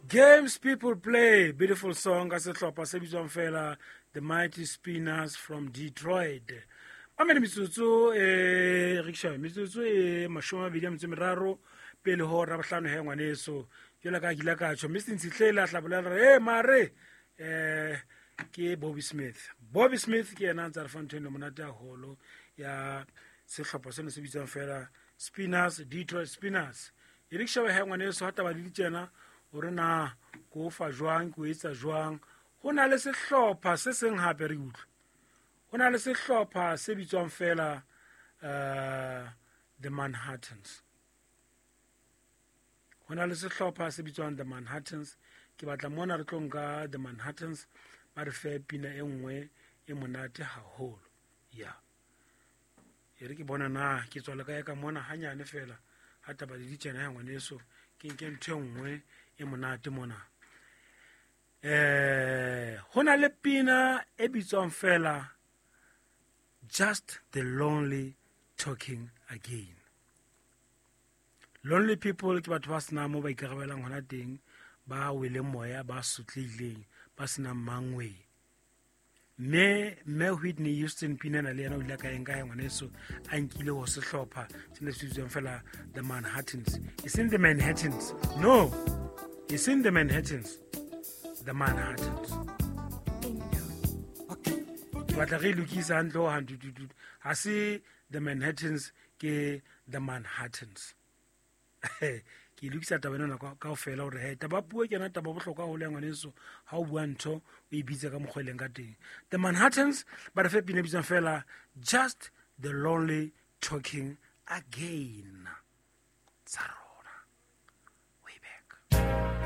Games People Play, beautiful song ka sehlopha se bitswang fela The Mighty Spinners from Detroit. Mamele metsotso e riksha metsotso e 23 pele ho rabohlano he ngwaneso. Jwale ka kile ka tjho Mr Ntshitlele a tla bolela re e mare ke Bobby Smith. Bobby Smith ke yena a ntse a re fa ntho eno monate haholo ya sehlopha seno se bitswang fela Spinners, Detroit Spinners. E re ke shebe he ngwaneso ha taba di le tjena hore na ko fa jwang ko etsa jwang. Ho na le sehlopha se seng hape re utlwe. Ho na le sehlopha se bitswang fela The Manhattans. Ho na le sehlopha se bitswang The Manhattans. Ke batla mona re tlo nka The Manhattans ba re fe pina e nngwe e monate haholo. Ya. E re ke bona na ke tswala kae ka mona hanyane fela ha taba le ditjena ya ngwaneso ke nke ntho e nngwe e monate mona. Ho na le pina e bitswang fela Just the Lonely Talking Again. Lonely people ke batho ba senang mo ba ikarabelang hona teng, ba weleng moya, ba sotlehileng, ba senang mangwe. Mme Whitney Houston pina ena le yena o ile ka eng ka ngwaneso a nkile ho sehlopha se ne se bitswang fela The Manhattans. It's in the Manhattans. No, it's in the Manhattans. The Manhattans. Ke batla re lokisa hantle ho hantle. Ha se The Manhattans, ke The Manhattans. Ke lokisa taba ena kaofela hore he taba puo ke yona taba bohlokwa haholo ya ngwaneso. Ha o bua ntho o e bitse ka mokgwa e leng ka teng. The Manhattans ba re fe pina e bitswang fela Just the Lonely Talking Again. Tsa rona.